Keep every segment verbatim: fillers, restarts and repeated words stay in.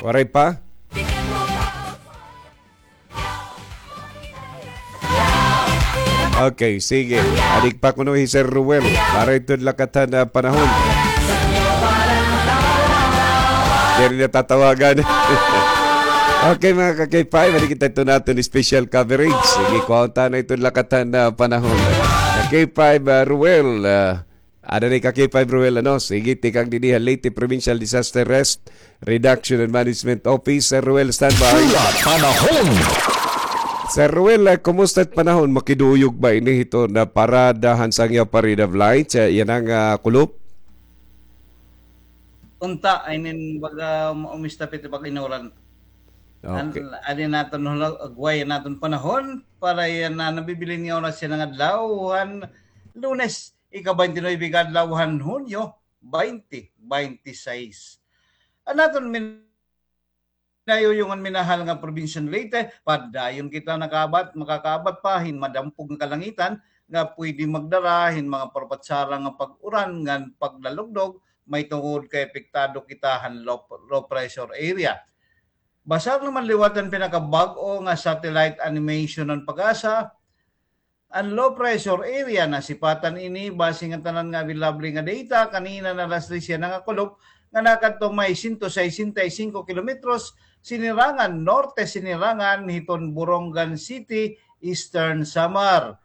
Waray pa? Okay, sige. Adi pa kuno hi Sir Ruel. Para iton lakatan na panahon. Diri na tatawagan. Okay, mga ka-K five, adi kita iton aton special coverage. Sige, kuhaon ta na iton lakatan na panahon. Ka-K five, ah, Ruel, ah, Ada ni ka-K five Ruel, ano? Sige, tikang dinhi ha Leyte Provincial Disaster Risk Reduction and Management Office, Sir Ruel, standby. Pula panahon. Sir Ruel, ah, kumusta it panahon? Makiduyog ba ini hiton parada han Sangyaw Parade of Lights? Ah, yana nga, ah, kulop? Unta, I mean, baga maumista piti pag-inuran. An-, okay. Adi naton hula-, agway naton panahon para yana nabibilin nga oras yana nga adlaw han Lunes. Ika-twenty-nine ka adlaw han Hunyo, twenty twenty-six. An aton minayuyungan, minahal nga probinsya han Leyte, padayon kita nakaabat, makakaabat pa hin madampog nga kalangitan nga pwede magdara hin mga parpatsara nga pag-uran ngan paglalugdog, mahitungod kay apektado kita han low, low pressure area. Basar naman liwat an pinakabag-o nga satellite animation han PAGASA, An low pressure area, nasipatan ini base nga tanan nga available nga data kanina nga alas tres yana nga kulop nga nakadto may sento sesenta y singko kilometros sinirangan, norte sinirangan hiton Borongan City, Eastern Samar.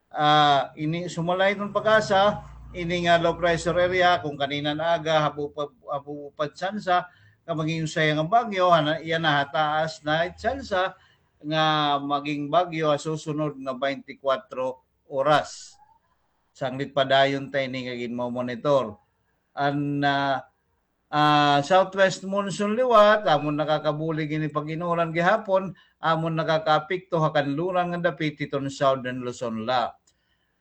Ah, ini sumala hiton PAGASA, ini nga low pressure area, kon kanina nga aga, habo pa, habo pa tsansa nga maging usa nga bagyo, yana, yana ha taas na tsansa nga maging bagyo ha susunod nga twenty-four oras. Sanglit padayon ta ini nga ginmo-monitor. An, ah, ah, southwest monsoon liwat, amon nakakabulig ini pag-inuran gihapon, amon nakakaapekto ha kanluran nga dapit hiton Southern Luzon la.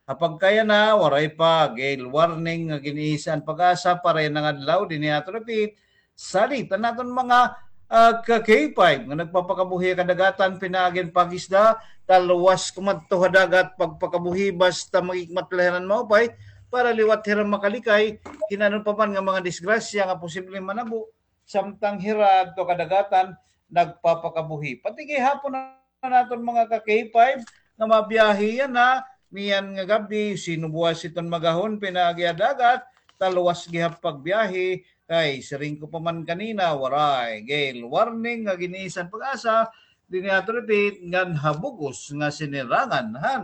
Ha pagkayana, waray pa gale warning nga gin-iisa an PAGASA para yana nga adlaw dinhi ha aton dapit. Salit an aton mga, ah, ka-K five nga nagpapakabuhi ha kadagatan, pinaagi han pag-isda, talwas kumadto ha dagat pagpakabuhi basta magikmat la hira hin maupay para liwat hira makalikay hin ano pa man nga mga disgrasya nga posibleng manabo samtang hira adto ha kadagatan nagpapakabuhi. Pati gihapon an aton mga ka-K five nga mabiyahe yana niyan nga gab-i, sino buwas iton magahon pinaagi ha dagat, talwas gihap pagbiyahe, kay siring ko pa man kanina, waray gale warning nga gin-iisa han PAGASA dinhi ha aton dapit ngan ha bug-os nga sinirangan han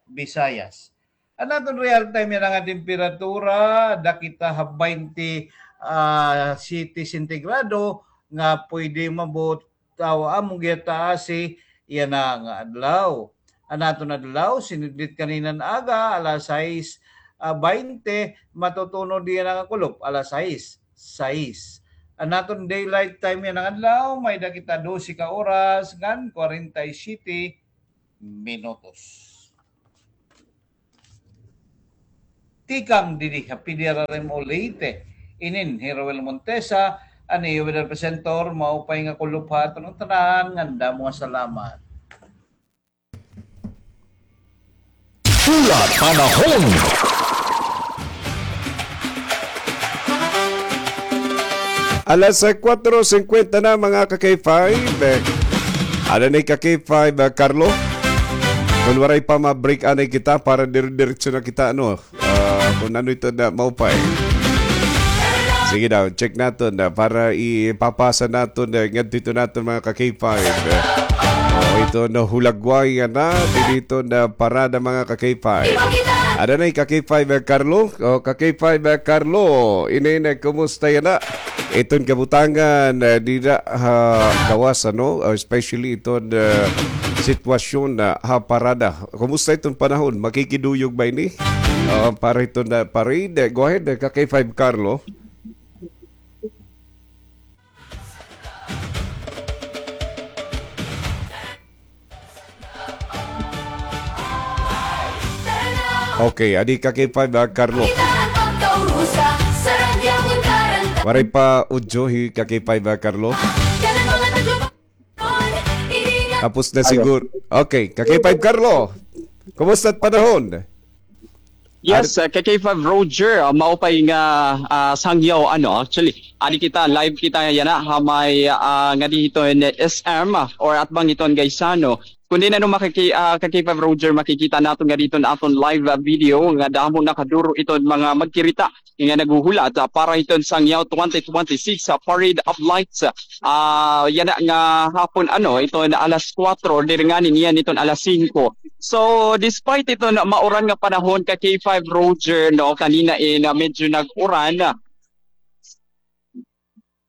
Visayas. An aton real time yana nga temperatura, dakita ha twenty, ah, sete sentigrado nga pwede umabot taw amon gihataasi yana nga adlaw. An aton adlaw, sinidlit kanina nga aga, alas sais, ah, baynte, matutunod yana nga kulop, alas sais, sais. An aton daylight time yana nga adlaw, may-ada kita dose ka oras ngan kwarenta y siyete minutos. Tikang didi ha P D R R M O Leyte, inin hi Roel Montesa, an iyo weather presenter, maupay nga kulop ha aton tanan, ngandam nga salamat. Pula panahon. Alas, ah, kuwatro singkwenta na, mga ka-K five. Eh, ada na ka-K five, ah, Carlo. Kon waray pa, ma-break anay kita para dire-diretso na kita, ano, ah, kon ano ito na maupay. Sige daw, check naton na para ipapasa naton na ngadto ito naton mga ka-K five. O, ito na hulagway na dito na parada mga ka-K five. Ada na ka-K five, eh, Carlo? O, ka-K five, eh, Carlo. Inin, kumusta yana? Iton kabutangan, eh, dida ha gawas, ano? O, especially iton, eh, sitwasyon na ha parada. Kumusta iton panahon? Makikiduyog ba ini? O, para iton na parade. Go ahead, eh, ka-K five Carlo. Okay, adi ka-K five, ah, Carlo. Waray pa audio hi ka-K five, ah, Carlo. Tapos na siguro. Okay, ka-K five Carlo. Kumusta it panahon? Yes, uh, ka K five Roger, uh, maupay nga uh, sangyaw, ano, actually, adi kita, live kita yana, ha may uh, ngadi hiton S M, uh, or atbang hiton Gaisano. Kundi ano, makiki, uh, ka K five Roger, makikita naton ngadi hiton aton live uh, video nga damo na kaduro iton mga magkirita nga naghuhulat uh, para hiton sangyaw twenty twenty-six uh, Parade of Lights. Uh, yana nga hapon, ano, iton alas kwatro, diri ngani niyan iton alas singko. So, despite iton mauran nga panahon ka K five Roger, no, kanina in uh, medyo nag-uran.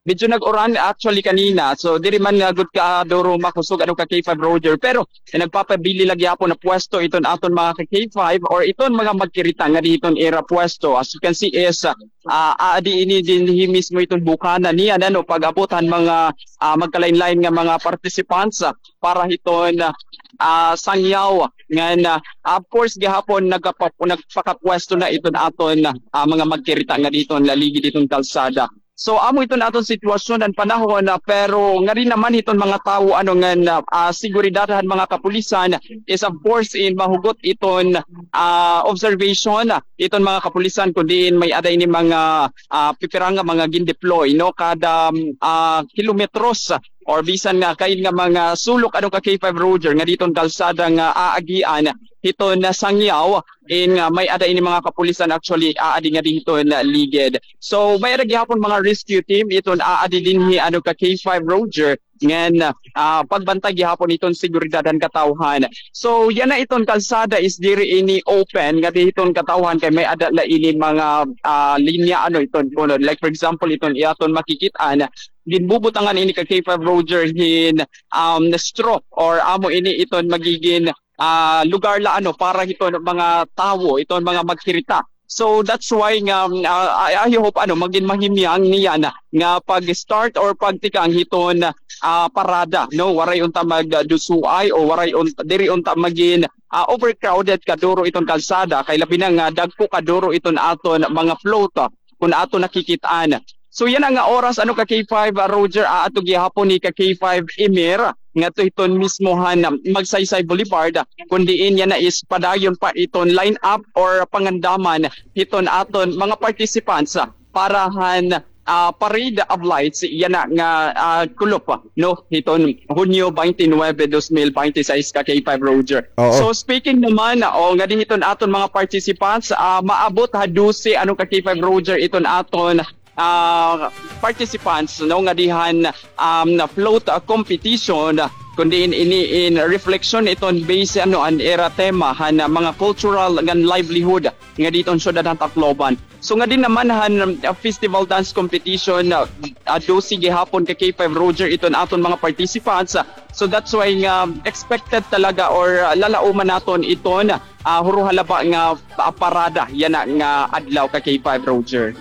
Medyo nag-uran actually kanina. So, diri man nga gud ka duro makusog ano ka K five Roger, pero eh, nagpapabili lagi apo na pwesto iton aton mga ka K five or iton mga magkirita nga di iton ira pwesto. As you can see is uh, uh, adi ini dinhi mismo iton bukana niya, ano, pag-abot han mga uh, magkalain-lain nga mga participants uh, para hiton uh, uh, sangyaw ngan uh, of course gihapon nagkapa- nagpakapwesto na iton aton uh, mga magkirita nga diton laligid diton kalsada. So amo iton aton sitwasyon an panahon, ah, pero ngari naman hiton mga tawo ano ngan ah, ah, seguridad han mga kapulisan is of course in mahugot iton ah, observation ah, iton mga kapulisan kun diin may-ada ini mga ah, pipira nga mga gindeploy, no, kada ah, kilometros or bisan nga kain nga mga sulok ano ka K five Roger nga diton kalsada nga aagian hiton sangyaw in nga may-ada ini mga kapulisan actually aadi nga diton ligid. So may-ada gihapon mga rescue team iton aadi dinhi ano ka K five Roger ngan ah, pagbantay gihapon iton seguridad han katawhan. So yana iton kalsada is diri ini open nga diton katawhan kay may-ada la ini mga ah, linya ano iton kuno, like for example iton iaton makikit-an ginbubutangan ini ka K five Roger hin um, straw or amo ini iton magigin ah, lugar la ano para hiton mga tawo, iton mga magkirita. So that's why nga um, ah, I, I hope ano magin mahimyang niyan nga pag-start or pagtikang hiton ah, parada, no, waray unta magdusuay o waray unta, diri unta magin ah, overcrowded kaduro iton kalsada kay labi na nga dagko kaduro iton aton mga float ah, kun aton nakikit-an. So yana nga oras ano ka K five ah, Roger, aadto gihapon ni ka K five Emir ngadto hiton mismo han ah, Magsaysay Boulevard ah, kun diin yana is padayon pa iton line up or pangandaman hiton aton mga participants ah, para han ah, Parade of Lights yana nga ah, kulop ah, no, hiton Hunyo twenty-nine, dos mil binte y seis ka K five Roger. Oo. So speaking naman ah, o ngadi hiton aton mga participants, ah, maabot ha dose ano ka K five Roger iton aton ah, participants, no, ngadi han um, float ah, competition ah, kun diin ini in reflection iton base ano an ira tema han ah, mga cultural ngan livelihood nga diton syudad han Tacloban. So ngadi naman han ah, festival dance competition ah, ah, dose gihapon ka K five Roger iton aton mga participants. Ah, so that's why nga expected talaga or ah, lalauman naton iton ah, huro halaba nga ah, parada yana nga adlaw ka K five Roger.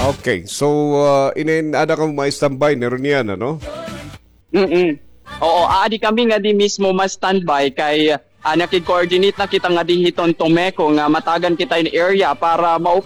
Okay, so ah, inin ada kamo ma-standby ni Runian, ano? Mm-mm. Oo, aadi kami ngadi mismo ma-standby kay ah, nakig-coordinate na kita ngadi hiton Tomeco nga matagan kita in area para mao